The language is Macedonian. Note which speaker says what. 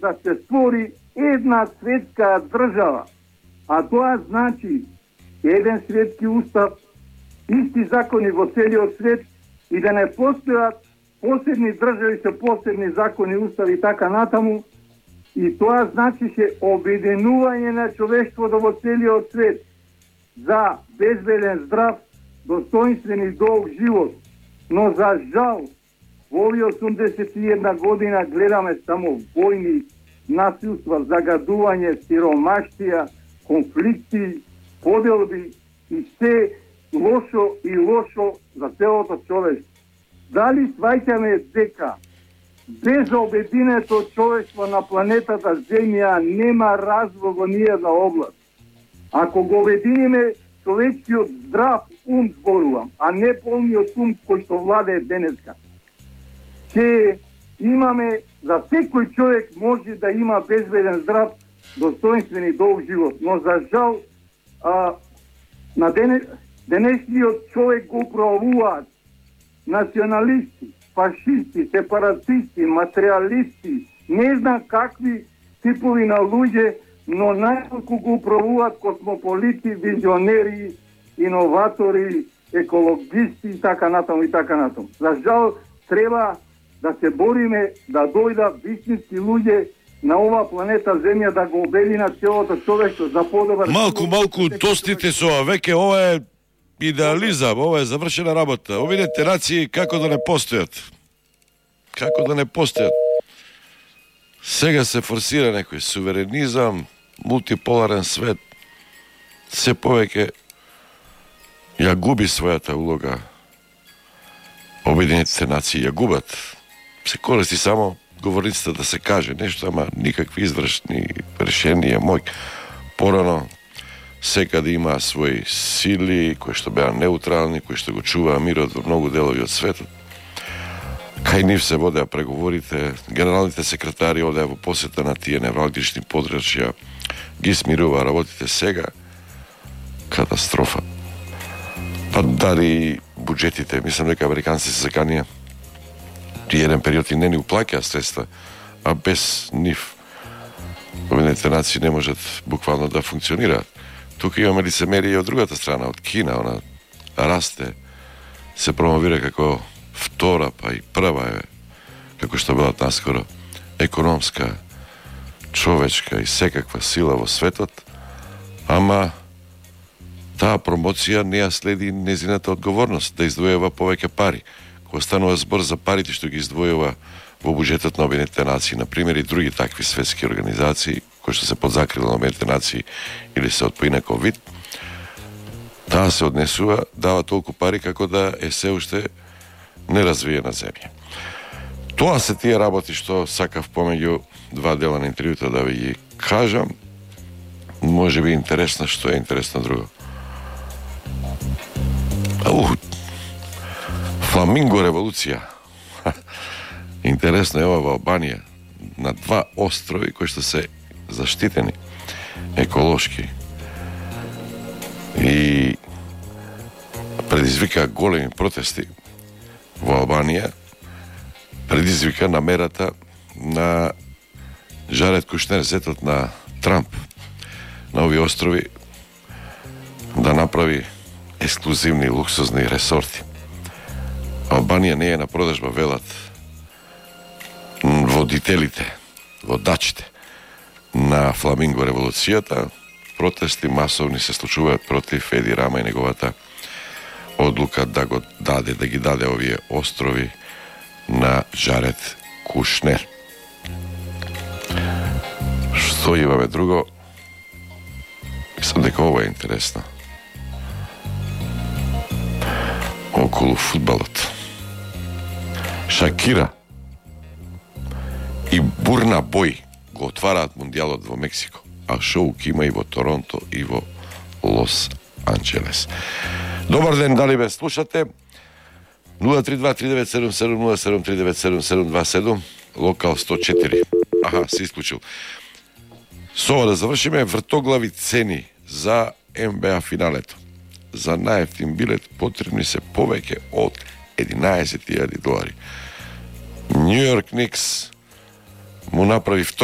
Speaker 1: да се створи една светска држава. А тоа значи еден светски устав, исти закони во целиот свет и да не постојат посебни држави со посебни закони, устави и така натаму. И тоа значише обединување на човештвото во целиот свет за безбеден, здрав, достоинствен и долг живот. Но за жал, во овие 81 година гледаме само војни, насилства, загадување, сиромаштија, конфликти, поделби и се лошо и лошо за целото човештво. Дали сваќаме дека без обединето човештво на планетата Земја нема развој во ниедна област? Ако го обединиме човечкиот здрав ум, зборувам, а не полниот ум кој што владее денеска, ќе имаме, за секој човек може да има безбеден, здрав, достоинствен и долг живот. Но за жал, на денешниот човек го управуваат националисти, фашисти, сепаратисти, материалисти, не знам какви типови на луѓе, но најмалку го управуваат космополити, визионери, иноватори, екологисти и така натаму и така натаму. За жал, треба да се бориме да дојдат вистински луѓе на ова планета Земја да го обединат целото човештво за подобар.
Speaker 2: Малку достите со веќе ова е идеализам, ова е завршена работа. Обидете нации како да не постојат. Како да не постојат. Сега се форсира некој суверенизам, мултиполарен свет. Се повеќе ја губи својата улога. Обединетите нации ја губат. Се користи само говорницата да се каже нешто, ама никакви извршни решенија мој. Порано секаде има своји сили кои што беа неутрални, кои што го чуваа мирот во многу делови од светот. Кај нив се водеа преговорите, генералните секретари одеа во посета на тие невралгични подрачја, ги смирува работите. Сега катастрофа. Па дали буџетите, мислам дека американците се заканија при еден период и не ни уплаќаа средства, а без нив Обединетите нации не можат буквално да функционираат. Тука имаме лицемерие од другата страна, од Кина, она расте, се промовира како втора, па и прва е, како што била наскоро, економска, човечка и секаква сила во светот, ама таа промоција не ја следи незината одговорност да издвојува повеќе пари. Кога станува збор за парите што ги издвојува во буџетот на Обединетите нации, например и други такви светски организации, кои што се под закрила на Обединетите нации или се од поинаков вид, таа се однесува, дава толку пари како да е се уште неразвиена земја. Тоа се тие работи што сакав помеѓу два дела на интервјута да ви ги кажам. Може би интересно, што е интересно друго. Фламинго револуција. Интересно е ова во Албанија, на два острови кои што се заштитени еколошки и предизвика големи протести во Албанија, предизвика намерата на Жаред Кушнер, зетот на Трамп, на овие острови да направи ексклузивни луксузни ресорти. Албанија не е на продажба, велат водителите, водачите на Фламинго револуцијата. Протести масовни се случуваат против Еди Рама и неговата одлука да го даде, да ги даде овие острови на Жаред Кушнер. Што имаме друго? Мислам дека ова е интересно. Околу фудбалот. Шакира и Бурна Бој го отвараат мундијалот во Мексико, а шоу ќе има и во Торонто и во Лос Анџелес. Добар ден, дали ме слушате? 032-3977-0739-7727, локал 104. Аха, се исклучил. Со ова да завршиме, вртоглави цени за НБА финалето. За најефтин билет потребни се повеќе од $11,000. Нью Йорк Никс му направи втор